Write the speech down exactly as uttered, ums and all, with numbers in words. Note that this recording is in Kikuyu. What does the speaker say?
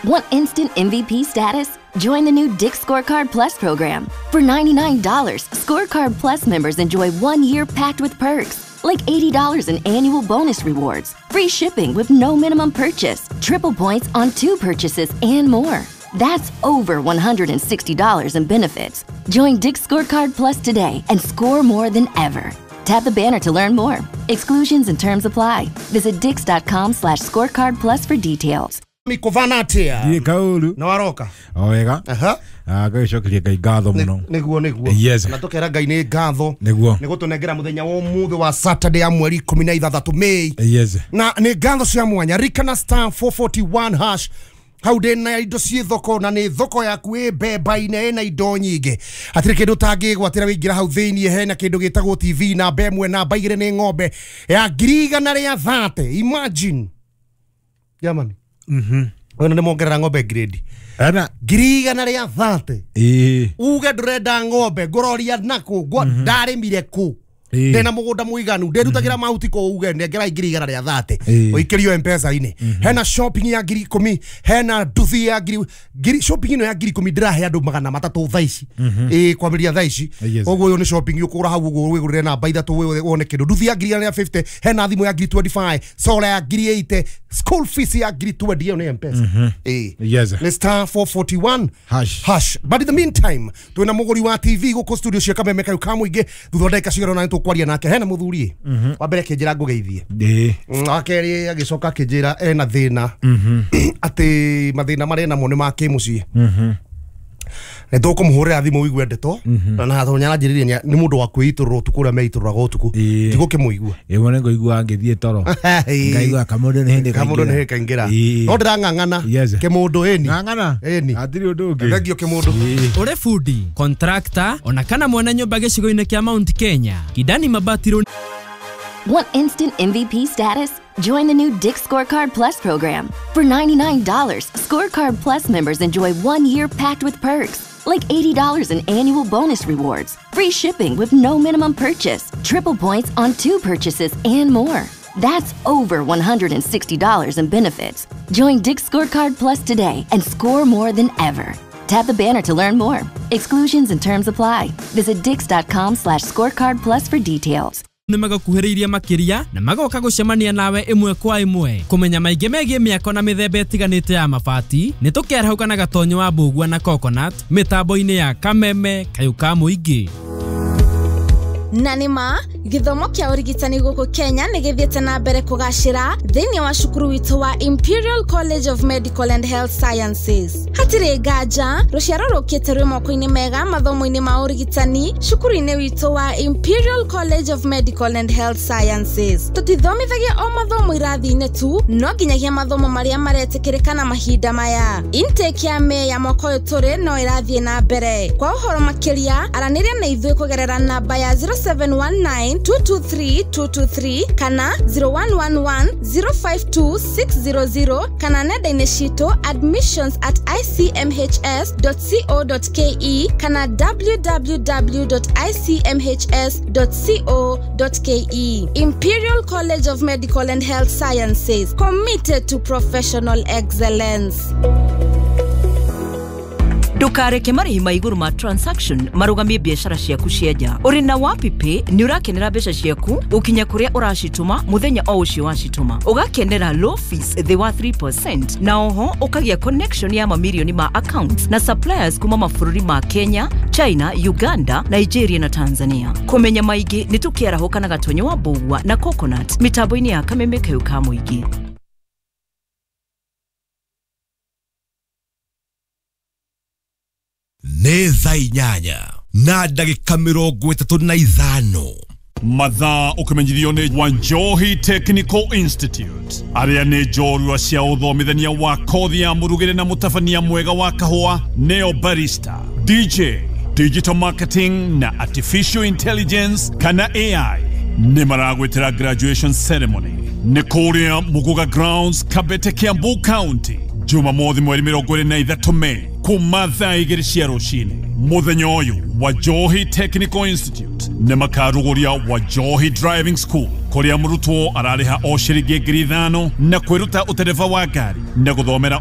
Want instant M V P status? Join the new Dick's Scorecard Plus program. For ninety-nine dollars, Scorecard Plus members enjoy one year packed with perks, like eighty dollars in annual bonus rewards, free shipping with no minimum purchase, triple points on two purchases, and more. That's over one hundred sixty dollars in benefits. Join Dick's Scorecard Plus today and score more than ever. Tap the banner to learn more. Exclusions and terms apply. Visit dicks.com slash scorecard plus for details. Mikuvanatia. Ndiĩ kaũru. Na waroka. O wega. Aha. Ah, ngagĩcokeria Ngai ngatho mũno. Nĩguo nĩguo. Yes. Na tũkera Ngai nĩ ngatho. Nĩguo. Nĩ gũtũnengera mũthenya wa ũmũthĩ wa Saturday ya mweri ikũmi na ithathatũ May. Yes. Na nĩ ngatho cia mwanya. Rikana star four forty-one hash. Hau ndĩ na indo ciĩ thoko na nĩ thoko yaku ĩ mbemba-inĩ ĩna indo nyingĩ. Hatirĩ kĩndũ ũtangĩgwatĩra wĩingĩra hau thĩiniĩ hena kĩndũ gĩtagwo T V namba ĩmwe namba igĩrĩ nĩ ng'ombe ya ngiri igana rĩa thate. Imagine. Jamani. Mhm. Wena nĩ mongerera ng'ombe grade. Ana ngiri igana rĩa thate. Ĩĩ. Uge ndũrenda ng'ombe ngũroria nakũ ndarĩmire kũ. Ndĩna mũgũnda mũiganu ndĩrutagĩra mahuti kũ uge nengera ngiri igana rĩa thate. Ũikĩrio M-Pesa-inĩ. Hena shopping ya ngiri ikũmi, hena nduthi ya ngiri ngiri shopping ĩno ya ngiri ikũmi ndĩrahe andũ magana matatũ thaa ici. Ĩĩ kwambĩrĩria thaa ici. Ũguo ũyũ nĩ shopping ũkũgũra hau ũguo wĩgũrĩre namba ithatũ wone kĩndũ. Nduthi ya ngiri igana rĩa fifty, hena thimũ ya ngiri twenty-five, solar ya ngiri eighty, school fees ya ngiri twenty ĩyo nĩ M-Pesa. Ĩĩ. Yes. Nĩ star four forty-one hash. Hash. But in the meantime, twĩna mũgũri wa T V gũkũ studio cia Kameme Kayũ ka Mũingĩ thutha wa ndagĩka cigana ũna nĩtũkwaria nake. Hena mũthuri wa mbere akĩnjĩra ngũgeithie. Ĩĩ. Wa kerĩ agĩcoka akĩnjĩra ena thĩna atĩ mathĩna marĩa enamo nĩ ma kĩmũciĩ. Nĩ tũkũmũhũrĩra thimũ ũigue ndeto na hatho nĩaranjĩrĩria nĩ mũndũ wa kwĩitũrũra ũtukũ ũrĩa meitũrũraga ũtukũ. Ndigũkĩmũigua. Ĩĩ wone ngũigua ngĩthiĩ toro. Ngaigua kamũndũ nĩ hĩndĩ kamũndũ nĩ hĩndĩ kaingĩra. No ndĩrang'ang'ana kĩmũndũ ĩni. Ng'ang'ana? Ĩni. Hatirĩ ũndũ ũngĩ. Thengio kĩmũndũ. Ũrĩ bundi, contractor, ona kana mwene nyũmba gĩcigo-inĩ kĩa Mount Kenya. Kidani Mabati. Want instant M V P status? Join the new Dick's Scorecard Plus program. For ninety-nine dollars, Scorecard Plus members enjoy one year packed with perks, like eighty dollars in annual bonus rewards, free shipping with no minimum purchase, triple points on two purchases, and more. That's over one hundred sixty dollars in benefits. Join Dick's Scorecard Plus today and score more than ever. Tap the banner to learn more. Exclusions and terms apply. Visit dicks.com slash scorecard plus for details. Nĩ magakuhĩrĩirie makĩria na magoka gũcemania nawe ĩmwe kwa ĩmwe kũmenya maingĩ megiĩ mĩako na mĩthemba ĩtiganĩte ya mabati nĩ tũkerahũka na Gatonyo wa Mbũgua na Coconut mĩtambo-inĩ ya Kameme Kayũ ka Mũingĩ. Na nĩ ma gĩthomo kĩa ũrigitani gũkũ Kenya nĩ gĩthiĩte na mbere kũgacĩra thĩinĩ wa cukuru witũ wa Imperial College of Medical and Health Sciences. Hatirĩ nganja rũciaro rũkĩte rwĩ moko-inĩ mega mathomo-inĩ ma ũrigitani cukuru-inĩ witũ wa Imperial College of Medical and Health Sciences. Tũtithomithagia o mathomo irathi-inĩ tu no nginyagia mathomo marĩa maretĩkĩrĩka na mahinda maya. Intake ya May ya mwaka ũyũ tũrĩ no ĩrathiĩ na mbere. Kwa ũhoro makĩria aranĩria na ithuĩ kũgerera namba ya zero seven one nine two two three two two three kana zero one one one zero five two six zero zero kana nenda-inĩ citũ admissions at i c m h s dot co dot k e kana w w w dot i c m h s dot co dot k e. Imperial College of Medical and Health Sciences, committed to professional excellence. Ndukareke marĩhi ma igũrũ ma transaction marũgamie biacara ciaku cia nja. Ũrĩ na WapiPay nĩ ũrakenera mbeca ciaku gũkinya kũrĩa ũracitũma mũthenya o ũcio wacitũma. Ũgakenera low fees thĩ wa three percent na oho ũkagĩa connection ya mamirioni ma accounts na suppliers kuma mabũrũri ma Kenya, China, Uganda, Nigeria na Tanzania. Kũmenya maingĩ nĩ tũkĩarahũka na Gatonyo wa Mbũgua na Coconut mĩtambo-inĩ ya Kameme Kayũ ka Mũingĩ. Nĩ thaa inyanya na ndagĩka mĩrongo ĩtatũ na ithano. Mathaa ũkĩmenyithio nĩ Wanjohi Technical Institute arĩa nĩ njorua cia ũthomithania wa kothi ya mũrugĩre na mũtabania mwega wa kahũa neo barista, D J, digital marketing na artificial intelligence kana A I. Nĩ maragwĩtĩra graduation ceremony nĩ kũrĩa Muguga Grounds, Kabete, Kiambu County, Jumamothi mweri mĩrongo ĩrĩ na ithatũ Mei kuma thaa igĩrĩ cia rũcinĩ. Mũthenya ũyũ Wanjohi Technical Institute nĩ makarugũria Wanjohi Driving School kũrĩa mũrutwo ararĩha o ciringi ngiri ithano na kwĩruta ũtereba wa ngari na gũthomera